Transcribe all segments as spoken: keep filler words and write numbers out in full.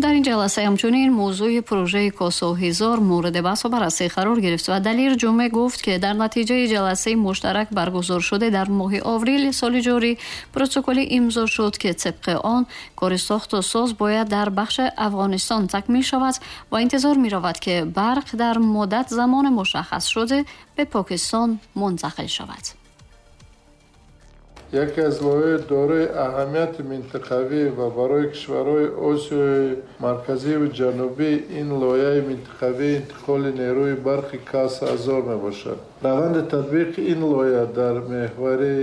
Дар ин ҷаласа ҳамчунин мавзӯи пурожаи Косо ҳазор мавриди баҳс ва баррасӣ қарор гирифт ва Далер Ҷумъа гуфт, ки дар натиҷаи ҷаласаи муштарак баргузор шуда дар моҳи апрел соли ҷорӣ протоколи имзо шуд, ки тибқи он кори сохту соз бояд дар бахши Афғонистон такмил шавад ва интизор меравад, ки барқ дар муддат замони мушаххас шуда ба Покистон мунтақил шавад. Яке аз лоиҳаҳои дорои аҳамияти минтақавӣ ва барои кишварҳои Осиёи Марказӣ ва Ҷанубӣ ин лоиҳаи минтақавии интиқоли нерӯи барқи Каса ҳазор мебошад. Раванди татбиқи ин лоиҳа дар меҳвари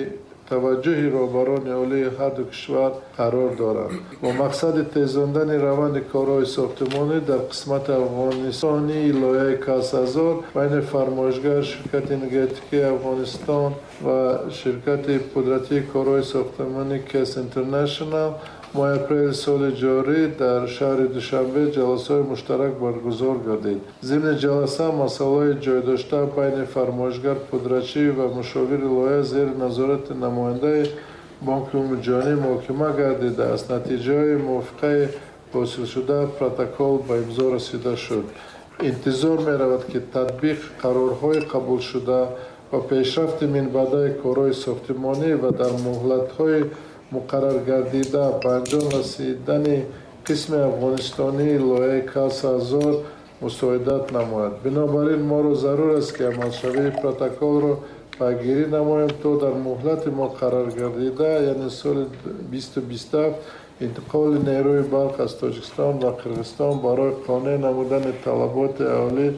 таваҷҷӯҳи роҳбарони олии ҳар ду кишвар қарор дорад. Бо мақсади тезондани раванди корҳои сохтмонӣ дар қисмати афғонистонии лоиҳаи Каса ҳазор байни фармоишгар ширкати энергетикии Афғонистон ва ширкати пудратии корҳои сохтмонӣ Кес Интернешнал моҳи апрели соли ҷорӣ дар шаҳри Душанбе ҷаласаҳои муштарак баргузор гардид. Зимни ҷаласа масъалаҳои ҷойдошта байни фармоишгар, пудрачӣ ва мушовири лоиҳа зери назорати намояндаи Бонки Умумиҷаҳонӣ муҳокима гардида, аз натиҷаҳои мувофиқаи ҳосилшуда протокол ба имзо расида шуд. Интизор меравад, ки татбиқи қарорҳои қабулшуда ва пешрафти минбаъдаи корҳои сохтмонӣ ва дар муҳлатҳои муқаррар гардида ба анҷом расидани қисми афғонистонии лоиҳаи Каса ҳазор мусоидат намояд. Бинобар ин моро зарур аст, ки амалшавии протоколро пайгирӣ намоем, то дар муҳлати муқаррар гардида, яъне соли бисту бисту ҳафт, интиқоли нерӯи барқ аз Тоҷикистон ва Қирғизистон барои қонеъ намудани талаботи аҳолӣ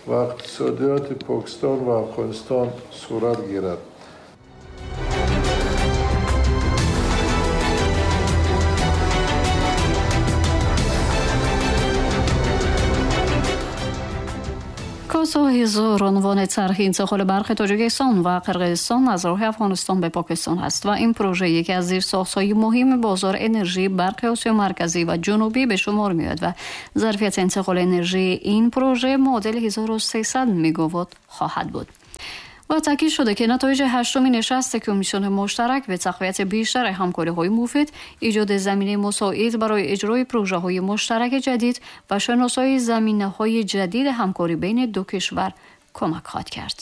ва иқтисодиёти Покистон ва Афғонистон сурат гирад. Косо ҳазор унвони тарҳи интиқоли барқи Тоҷикистон ва Қирғизистон аз роҳи Афғонистон ба Покистон аст ва ин пурожа яке аз зерсохтҳои муҳими бозори энергияи барқи Осиёи Марказӣ ва Ҷанубӣ ба шумор меояд ва зарфияти интиқоли энергияи ин пурожа муодили ҳазору сесад мегаватт хоҳад буд. ва таъкид шуда, ки натоиҷи ҳаштумин нишасти комиссиони муштарак ба тақвияти бештари ҳамкориҳои муфид, эҷоди заминаи мусоид барои иҷрои пурожаҳои муштараки ҷадид ва шиносоии заминаҳои ҷадиди ҳамкорӣ байни ду кишвар кӯмак хоҳад кард.